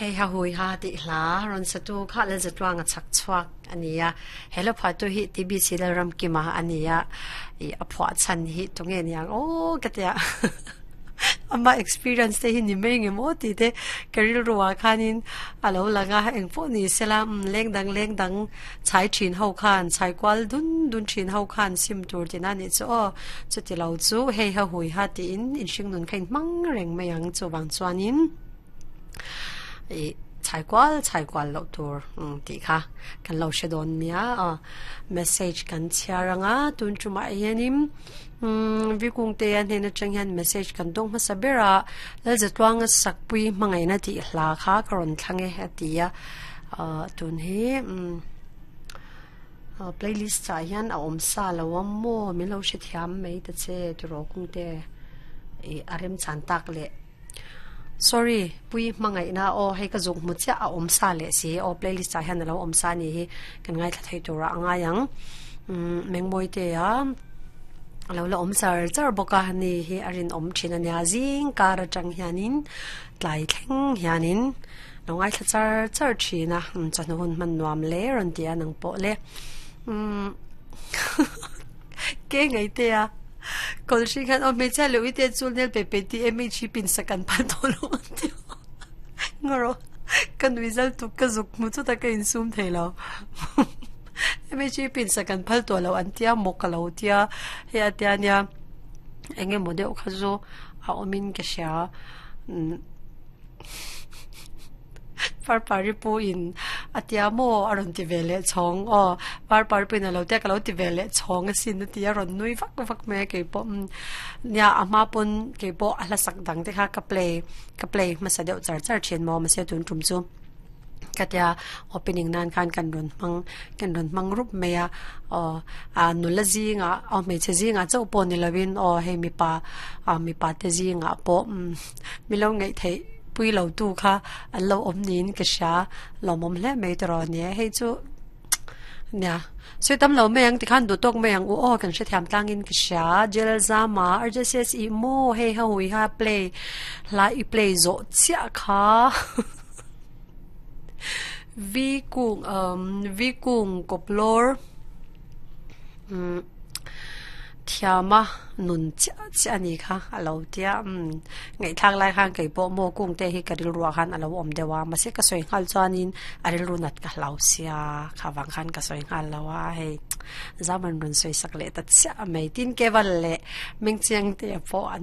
Hei ha hui ha tih hla rawn satu kha Lalzatluanga chhak chhuak a ni a, he lo phuahtu hi TBC Lalramkima a ni a, ih a phuah chhan hi tunge niang aw ka tia ama experience te hi ni mai nge maw tih te ka rilru ah khanin a lo lang a, engpawh ni sela umm leng dang leng dang chhai thin ho khan chhai kual dun dun thin ho khan sim tur tina nih chu aw chuti lo chu hei ha hui ha tiin inhring nun kha inhmang reng mai ang chuvang chuanin. Ih chhai kual chhai kual loh tur tih kha kan lo hre dawn nia aw message kan chhiar anga tun tumah hianin umm Vikungtea hnen atang hian message kan dawng hmasa ber a Lalzatluanga sakpui hmangaihna tih hla kha ka rawn thlang e a ti a ah tun hi umm playlist ah hian a awm sa lo a maw min lo hrethiam mai ta che tiraw Kungte ih a remchan tak leh. Sorry, pui hmangaihna aw hei ka zuk hmu chiah a awm sa leh si aw playlist ah hian a lo awm sa a ni hi kan ngaithla thei turah a ngai ang umm Mengmawi te a a lo la awm char char bawk a ni hi a rinawm thin a nia zing kar atang hianin tlai thleng hianin lo ngaithla char char thin a chawhnu hun hman nuam hle rawn ti a nang pawh le umm Ke ngei te a kawl hring khan aw hmeichhia leh uite chu nel pe pe tih em hi pin sak an phal tawh lo ang tih ngaw ka nui zal tuk ka zuk hmu chutah ka insum thei lo mhg pin sak an phal tawh lo an tia maw ka lo tia hei a tia nia eng emaw deuh kha chu a awmin ka hria Parpari pu in a tia maw a rawn ti ve leh chhawng aw Parpari pu in a lo tia ka lo ti ve leh chhawng asin a ti a rawn nui vak vak mai a keipawh umm nia a hma pawn keipawh a hlasak dang te kha ka play ka play hmasa deuh char char thin maw mahse tun tum chu ka tia opening nan khan kan rawn hmang kan rawn hmang rup mai a aw ah nula zingah aw hmeichhe zingah chauh pawh ni lovin aw hei mipa ah mipa te zingah pawh umm mi lo ngaih theih. Pui lo tu kha an lo awm niin ka hria, lawmawm hle mai tawh nia hei chu nia sawi tam lo mai ang tikhan duh tawk mai ang u aw kan hrethiam tlangin ka hria Jel Zama RJCS i maw hei ha hui ha play hla i play zawh chiah kha Vi kung um Vi kung kawplawr umm thiama nun chiah chiah a ni kha a lo tia umm ngaihthlak lai khan kei pawh maw kung te hi ka rilruah khan a lo awm deuh a mahse ka sawi nghal chuanin a rilru nat ka hlau sia kha vang khan ka sawi nghal lo a hei zaman rawn sawi sak leh ta chiah mai tin keval leh mengchiang te pawh an.